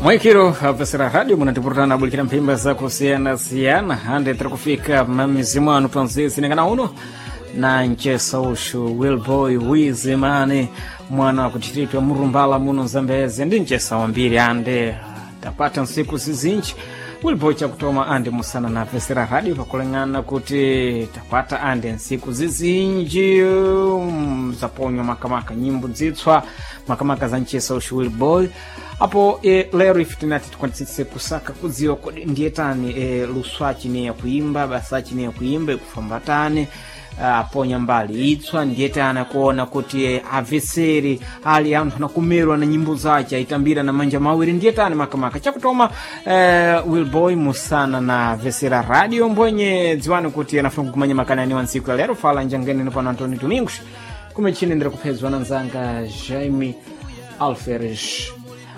Mwikiro apesera radio munatipurutana bulikira mphimba zakusiyana-siyana hande tiri kufika mamizi mwanu panzisi ningana uno na nchesa ushu Wilboy Wizimani mwana wa kuchititwa murumbala muno Zambezi ndi nchesa wambiri ande tapata nsiku zizinji Wilboy chakutoma ande musana na vesera radio pakuleng'ana kuti tapata ande nsiku zizinji zaponywa makamaka nyimbo dzitswa makamaka za nchesa ushu Wilboy apo lero ife tinati tikwanisise kusaka kudziwa kodi ndiyetani luswachi ne yakuimba basachi ne yakuimba ikufambatani aponya mbali itswa ndiyetani akuona kuti aveseri ali anthu anakumerwa na nyimbo zace aitambira na manja mawiri ndiyetani makamaka chakutoma Wilboy musana na vesera radio mbwenye dziwani kuti anafuna kukumanya makanani wa ntsiku ya lero fala njangeni pano Antônio Domingos kumechini ndiri kuphedzwa na nzanga Jaime Alferes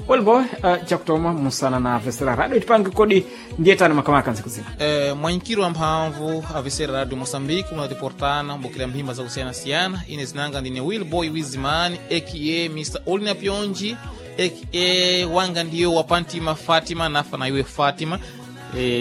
Wilboy chakutoma musana na vesera radio tipange kodi ndiyetani makamaka ntsiku zina. Mwankiro wa mphamvu avesera radio Moçambique munatiportana mbukira mphimba zakusiyana-siyana. Ine zinanga ndine Wilboy Wizimani aka Mr Olina Pyonji aka wanga ndiyo wapantima Fatima nafa na iwe Fatima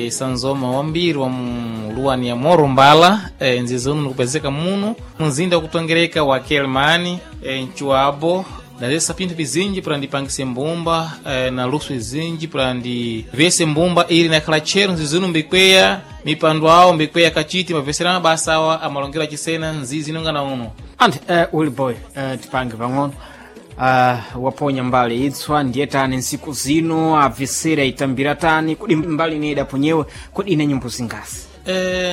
sanzoma wambiri wa muluwani ya Morumbala nzizi uno nikupezeka muno mumzinda wakutongereka wa Kelmani nchuabo ndazesa pinthu pizinji para ndipangise mbumba na luso izinji para ndivese mbumba ili nakhala tchero nzizi mbikweya mipando awo mbikweya kachiti mavesera mabasa awa amalongero achisena nzizi inonga na uno. Andi Wilboy tipange pang'ono waponya mbali itswa ndiyetani nsiku zino abvesera itambira tani kodi mbali ine idaponyewe kodi ine nyimbo zingasi?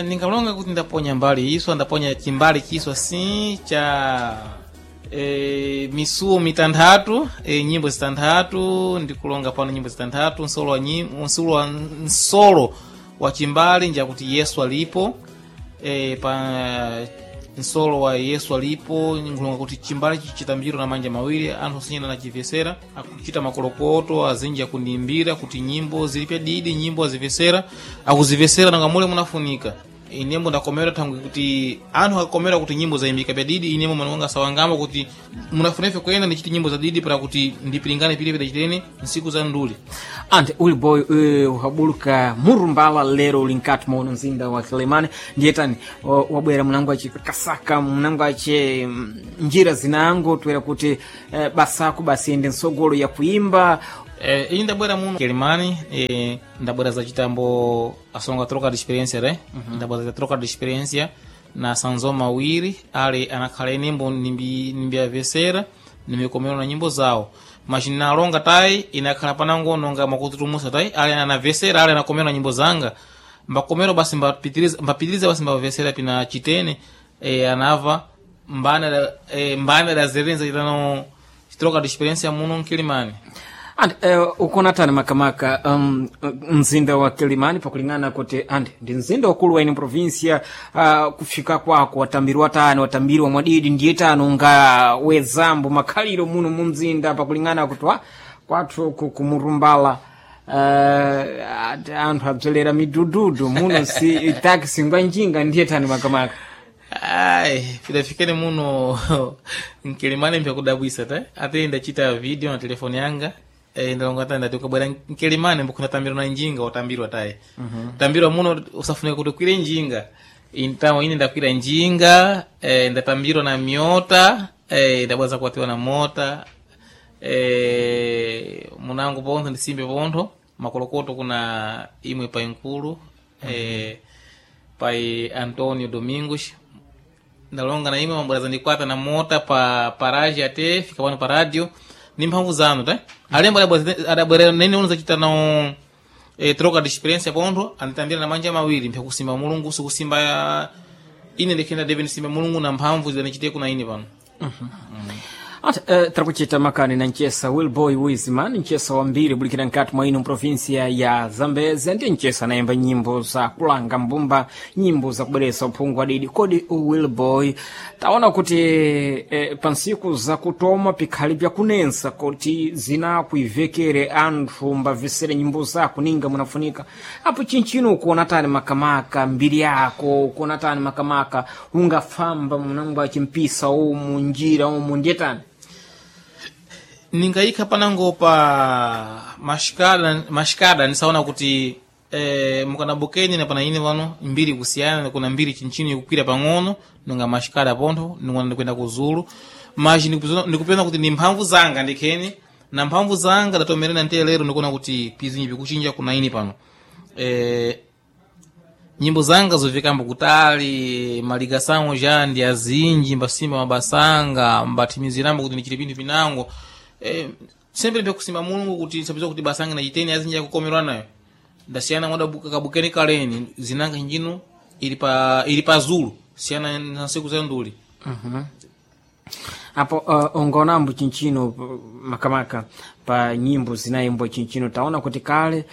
Ningalonga kuti ndaponya mbali iswa ndaponya chimbali chiswa si cha misuo mitanthatu nyimbo zitanthatu ndikulonga pano nyimbo zitanthatu nsolo wa nsolo wa chimbali njakuti Yesu alipo pa nsolo wa Yesu alipo nkulonga kuti chimbali chichitambiro na manja mawiri anthu osinyana nachivesera akuchita makolokoto azinji akundiimbira kuti nyimbo zilipe didi nyimbo azivesera akuzivesera nanga mule munafunika inembo ndakomera thangwi kuti anthu akakomera kuti nyimbo zayimbika pya didi inembo manonga sawangamba kuti munafunefe kuyenda ndichiti nyimbo za didi para kuti ndipilingane pili pidachitene nsiku za nduli. Andi Wilboy ukabuluka murumbala lero uli nkati mwa uno mzinda wa Kilimani ndiyetani wabwera mnango ace kasaka mnango ace njira zinango toera kuti basako basi ende nsogolo ya kuimba. Iyi ndabwera muno Kilimani ndabwera za chitambo asonga troca de experiência re. Ndabwera za troca de experiência na sanzo mawiri ali anakhala inembo nimbiavesera nimbikomera na nyimbo zawo mas nalonga tayi inakhala panango nonga makututumusa tayi ali anavesera ali anakomera na nyimbo zanga mbakomero basi mbapitiriza basi mbavesera pina chitene anava mbana mbana dazerenza chitano troca de experiência muno Nkilimani. Andi ukona tani makamaka mzinda wa Kilimani pakulingana kuti andi ndi mzinda wakulu wa ine provinsia kufika kwako watambirwa tani watambirwa mwadidi ndiye tani unga wezambo makhaliro muno mu mzinda pakulingana kuti wa kwathu kumurumbala anthu abzelera midududu muno si taxi ngwa njinga ndiye tani makamaka. Ai, pidafikene muno Nkilimani mpyakudabwisa ta ate ndachita video na telefoni yanga ndalonga tayi ndati ukabwera Nkilimani mbukuna na njinga watambirwa tayi. Tambirwa muno usafunika kuti ukwire njinga intamo ine ndakwira njinga ndatambirwa na miota ndabwaza kuwatiwa na mota munango pontho ndisimbe pontho makolokoto kuna imwe pai nkulu pai Antonio Domingos ndalonga na imwe mabweraza ndikwata na mota pa paraji ate fika pano pa radio ni mphamvu zanu ta alembo adabwerera nene uno zachita nawo troca de experiência pontho anditambira na manja mawiri mpyakusimba mulungu sikusimba ine ndikhenda deve ndisimba mulungu na mphamvu zidanichite kuna ine pano. Ati tirakuchita makani na nchesa Wilboy Wizman nchesa wambiri bulikira nkati mwa ino provinsia ya Zambezi ndiye nchesa anayimba nyimbo za kulanga mbumba nyimbo za kubweresa uphungu wadidi kodi Wilboy taona kuti pansiku zakutoma pikhali pyakunensa kuti zinakuivekere anthu mbavesere nyimbo zako ninga munafunika apo chinchino ukuona tani makamaka mbiri yako ukuona tani makamaka ungafamba munango achimpisa umu njira umu ndiye tani Ningayikha panango pa Mashikada mashikada nisaona kuti mukanabukeni na pana ine pano mbiri kusiyana, kuna mbiri chinchini ikukwira pang'ono nunga mashikada pontho ningona ndikwenda kuzulu maji ndikupena kuti ni mphamvu zanga ndikheni na mphamvu zanga ndatomerena ntiye lero ndikuona kuti pizinyi pikuchinja kuna ine pano nyimbo zanga zovikambo kutali maligasango ja ndi azinji mbasimba mabasanga mbathimizirambo kuti ndichite pinthu pinango sempre ndikusimba Mulungu kuti nsapeza kuti basanga nachiteni azinji akukomerwa nayo ndasiyana mwada kabukeni kaleni zinanga njino ili pa zulu siyana na nsiku za nduli. Apo ongonambo chinchino makamaka pa nyimbo zinayimbwa chinchino taona kuti kale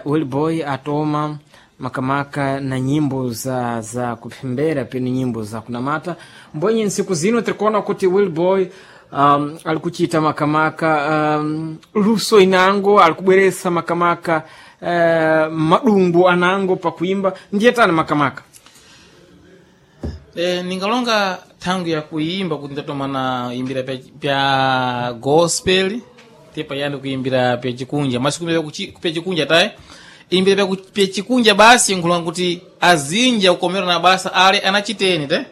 Wilboy atoma makamaka na nyimbo za kupembera pene nyimbo za kunamata mbwenye nsiku zino tirikuona kuti Wilboy alikuchita makamaka luso inango alikubweresa makamaka madumbu anango pakuimba ndiye tani makamaka. Ningalonga thangu ya kuimba kuti ndatoma na imbira pya gospel tepa yandi kuimbira pya chikunja masi kuimbira pya chikunja tayi imbira pya chikunja basi nkhulonga kuti azinja kukomera na basa ale anachiteni te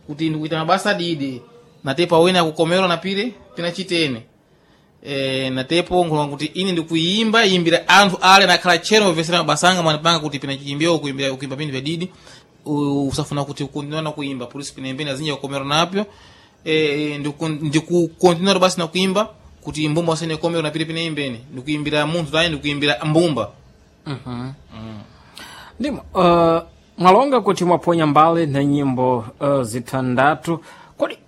kuti ndikuita mabasa didi na tepa wina akukomerwa na pile pinachiteni natepo nkhulonga kuti ine ndikuimba imbira anthu ale nakhala tchero ovesera mabasa anga mwanipanga kuti pinachiimbira kuimbira kuimba pinthu pya didi usafuna kuti ukontinua na kuimba polisi pinembeni azinja kukomera napyo ndikukontinua basi na kuimba kuti mbumba wasene komera na pile pineimbeni ndikuimbira munthu tayi ndikuimbira mbumba. Ndimo mwalonga kuti mwaponya mbali na nyimbo zitandatu kodi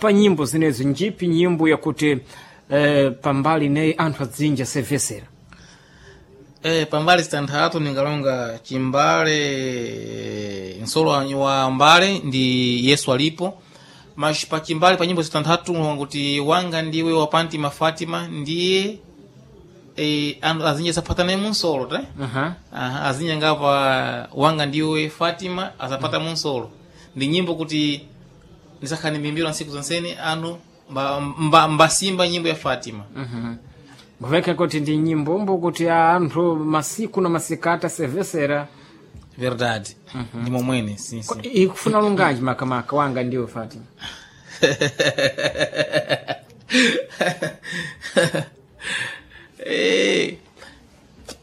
pa nyimbo zinezo njipi nyimbo yakuti pambali neyi anthu adzinja sevesera? Pambali zitanthatu ningalonga chimbale nsolo wa mbale ndi Yesu alipo mas pa chimbale pa nyimbo zitanthatu nkulonga kuti wanga ndiwe wapantima Fatima ndiye anthu azinja saphatane munsolo te. Aha, azinja ngapa wanga ndiwe Fatima asapata munsolo ndi nyimbo kuti ndisakhani mbimbiro nsiku zonseni anthu mbasimba nyimbo ya Fatima. Mveka kuti ndi nyimbombo kuti anthu masiku na masikati asevesera. Verdade. Ndi momwene sim, sim. Ikufuna lunganji makamaka wanga ndiwe Fatima?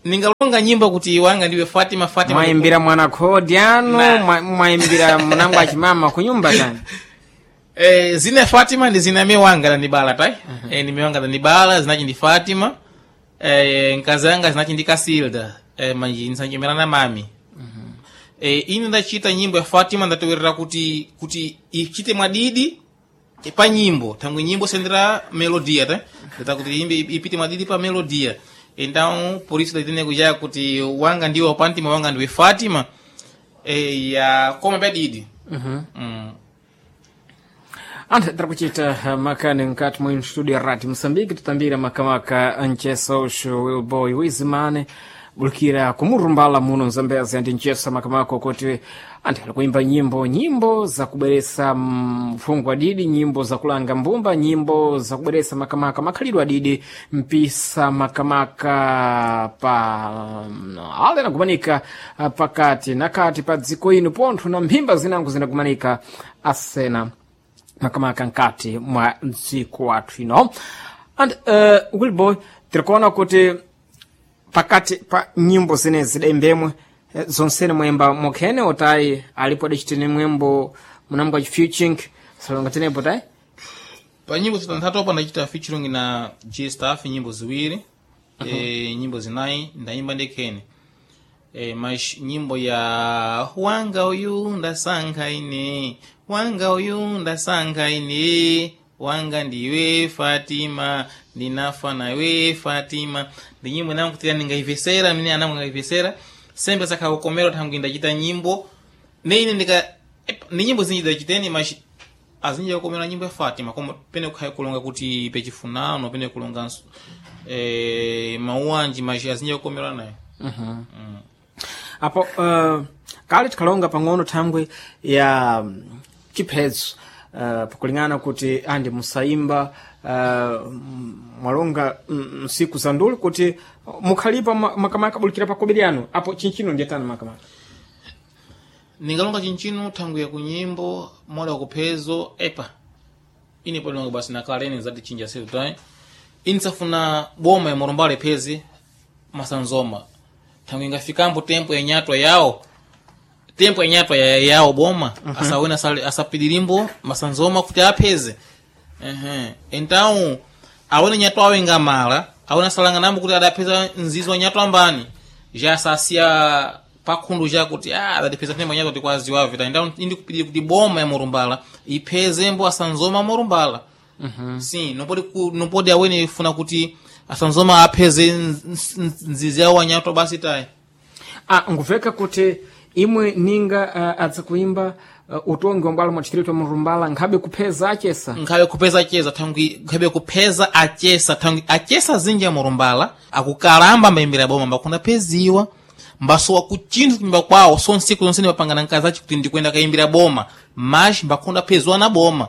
Ningalonga nyimbo kuti wanga ndiwe Fatima Fatima Mwaimbira mwana khodi anu mwaimbira mnango achimama kunyumba tani? Zina Fatima ndi zina wanga ndibala tai. Ni wanga ndibala zinachi ndi Fatima nkazi yanga zinachi ndi Kasilda manji nsanjemera na mami. Ine ndachita nyimbo ya Fatima ndatowerera kuti ichite mwadidi pa nyimbo thangwi nyimbo sendera melodia te ndata kuti imbe ipite mwadidi pa melodia então por isso ndaitene kuja kuti wanga ndiwe wapantima wanga ndiwe Fatima ya koma padidi. Anthu tiri kuchita makani mkati mwa studio ya Radio Moçambique tutambira makamaka ncheso ushu Wilboy Wizimane bulikira kumurumbala muno mzambezi andi ncheso makamaka kuti anthu ali kuimba nyimbo zakubweresa mfungo adidi nyimbo zakulanga mbumba nyimbo zakubweresa makamaka makhalidwe adidi mpisa makamaka pa ale anagumanika pakati nakati pa dziko ino pontho na mphimba zinango zinagumanika asena makamaka nkati mwa dziko wathu ino and Wilboy tirikuona kuti pakati pa nyimbo zinezi zidaimbemwe zonsene mwemba mokhene otayi alipo adacitene mwembo munambo featuring salonga tenepo tayi? Pa nyimbo zitanthatu apa ndachita featuring na J Staff nyimbo ziwiri. Nyimbo zinayi ndayimba ndekhene mas nyimbo ya wanga uyu ndasankha ine wanga uyu ndasankha ine wanga ndiwe Fatima ndinafa nawe Fatima ndi nyimbo inangu ningaivesera mine anangu ngaivesera sembe sakhakukomera thangwi ndachita nyimbo neine ndika ni nyimbo zinji ndachiteni mas azinji kukomera nyimbo ya Fatima koma pene kukhaya kulonga kuti pechifunano pene kulonga mauwanji mas azinji kukomera nayo. Apo kale tikhalonga pang'ono thangwi ya chiphedzo. Pakulingana kuti andi musaimba mwalonga msiku za nduli kuti mukhalipa makamaka bulikira pakobiri anu apo chinchino ndiyatani makamaka. Ningalonga chinchino thangwi ya kunyimbo moda wakuphezo epa ine polonga basi nakalene zati chinja setu tayi inisafuna boma ya Morumbala iphezi masanzoma thangwi ingafikambo tempo ya nyatwa yawo, tempo ya nyatwa ya yawo boma asawena asapidirimbo masanzoma kuti apheze. Ehe, então awone nyatwa awo ingamala awone asalanga nambo kuti adapheza nzizo wa nyatwa ambani já asasiya pakhundu já kuti adatipheza tembo nyatwa tikwaziwa vita. Então indi kupidira kuti boma ya Morumbala iphezembo asanzoma Morumbala. Sim, não pode awene funa kuti asanzoma apheze nzizi yawo anyatwa basi tayi. Nguveka kuti imwe ninga adza kuimba utongi wa mbwalo mwa distrito Murumbala nkhabe kupheza achesa. Nkhabe kupeza acheza thangwi nkhabe kupheza achesa thangwi achesa zinji ya Murumbala akukalamba mbayimbira boma mbakhunda pheziwa mbasowa kuchinthu kunyumba kwawo so nsiku zonse ndimapangana nkazi achi kuti ndikwenda kayimbira boma mas mbakhunda pheziwa na boma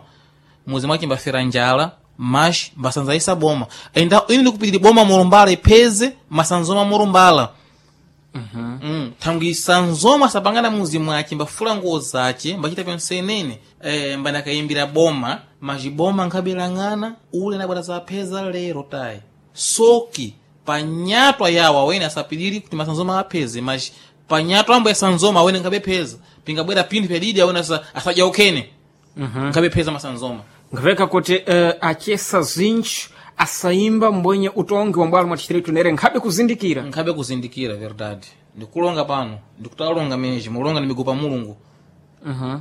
muzi mwache mbafera njala mas mbasanzaisa boma. Enda ine ndikupitiri boma Murumbala ipheze masanzoma Murumbala. Thangwi sanzoma sapangana muzi mwache mbafula nguwo zace mbachita pyonsenene mbandakayimbira boma maziboma nkhabelang'ana ule nabwera zapheza lero tayi soki panyatwa yawo awene asapidiri kuti masanzoma apheze mas panyatwa ambo ya sanzoma awene nkhabepheza pingabwera pinthu pyadidi awene asadya ukhene nkhabepheza masanzoma. Ngaveka kuti achesa zinji asaimba mbwenye utongi wa mbwalo mwa distrito nere nkhabe kuzindikira. Nkhabe kuzindikira, verdade. Ndikulonga pano ndikutalonga meji mulonga ndimigupa Mulungu.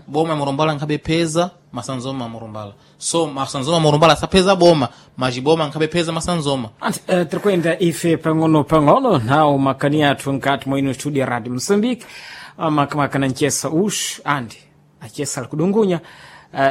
Boma ya Murumbala nkhabe pheza masanzoma Murumbala so masanzoma Murumbala asapheza boma majiboma nkhabe pheza masanzoma. Anti tirikwenda ife pang'ono pang'ono nawo makani athu nkati mwa ino studio ya Radio Moçambique makamaka na nchesa uxu andi achesa ali kudungunya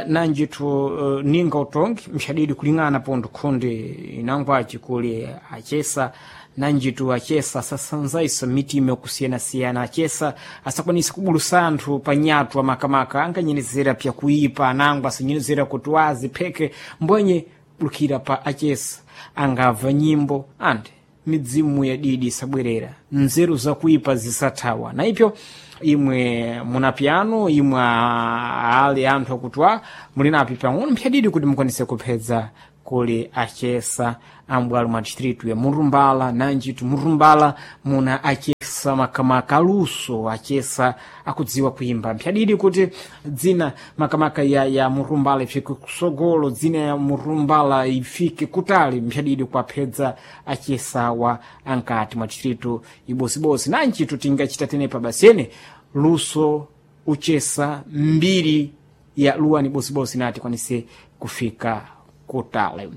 nanjitu ninga utongi mxadidi kuling'ana pondo khonde inangwaci kuli achesa nanjitu achesa asasanzaisa mitima yakusiyanasiyana achesa asakwanisa kubulusa anthu panyatwa makamaka anganyenezera pyakuipa anangwa asanyenezera kuti wazi pheke mbwenye bulukira pa achesa angamva nyimbo andi midzimu ya didi isabwerera nzeru zakuipa zisathawa na ipyo imwe muna piano imwe ali anthu akutwa muli napi pang'ono mphyadidi kuti mukwanise kuphedza kuli achesa ambwalo mwa distrito ya Murumbala nanjitu Murumbala muna achesa makamaka aluso achesa akudziwa kuimba mphyadidi kuti dzina makamaka ya Murumbala ifike kusogolo dzina ya Murumbala ifike kutali mphyadidi kwaphedza achesawa ankati mwa distrito ibosibosi nanjitu tingachita tenepa basene luso uchesa mbiri ya luwani bosibosi nati kwanise kufika kutali.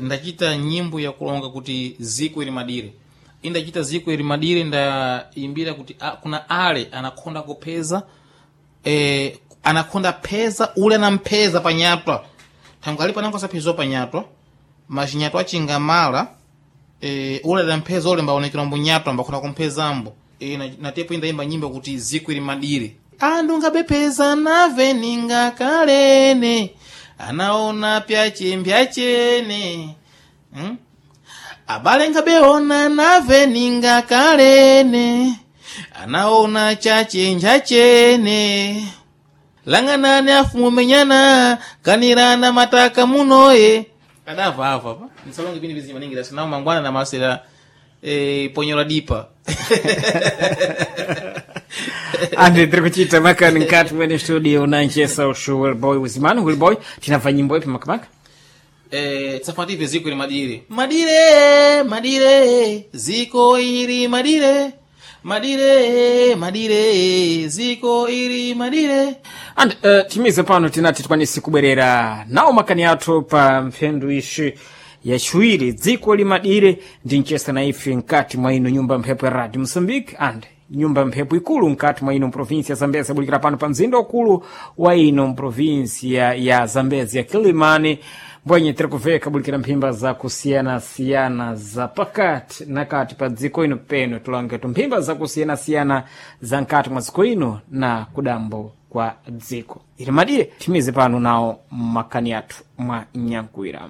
Ndachita nyimbo ya kulonga kuti ziko ili madire indachita ziko ili madire ndaimbira kuti kuna ale anakhonda kupheza anakhonda pheza ule anampheza panyatwa thangwi alipo anango asaphezwa panyatwa machinyatwa achingamala ule adampheza ule mbaonekera mbunyatwa mbakhonda kumphezambo natepo indayimba nyimbo kuti ziko ili madire andu ngabepheza nave ningakalene anaona pyache mbyachene. Abale ngabeona nave ningakalene anaona chache njachene lang'anani afumumenyana kanirana mataka munoye adava ava pa nisalonge pini vizi maningi dasinawo mangwana na masera ponyora dipa. Andi tiri kuchita makani nkati mwene studio nanchesa ushu Willboy Wizimani. Willboy, tinabva nyimbo ipi makamaka? Tsafative ziko ili madire madire madire ziko ili madire madire madire ziko ili madire. And timize pano tinati tikwanise kubwerera nawo makani athu pa mphendu ishi yaciwiri dziko limadire ndi mchesa na ife mkati mwa ino nyumba mphepo ya Radio Mozambique and nyumba mphepo ikulu mkati mwa ino mprovinsi ya Zambezi yabulikira pano pa mzinda ukulu wa ino mprovinsi ya Zambezi ya Kilimani mbwenye tiri kuveka bulikira mphimba za kusiyanasiyana za pakati na kati pa dziko ino peno tulangetu mphimba za kusiyanasiyana za nkati mwa dziko ino na kudambo kwa dziko. Ili madire timize pano nawo makani athu mwa nyankuwira.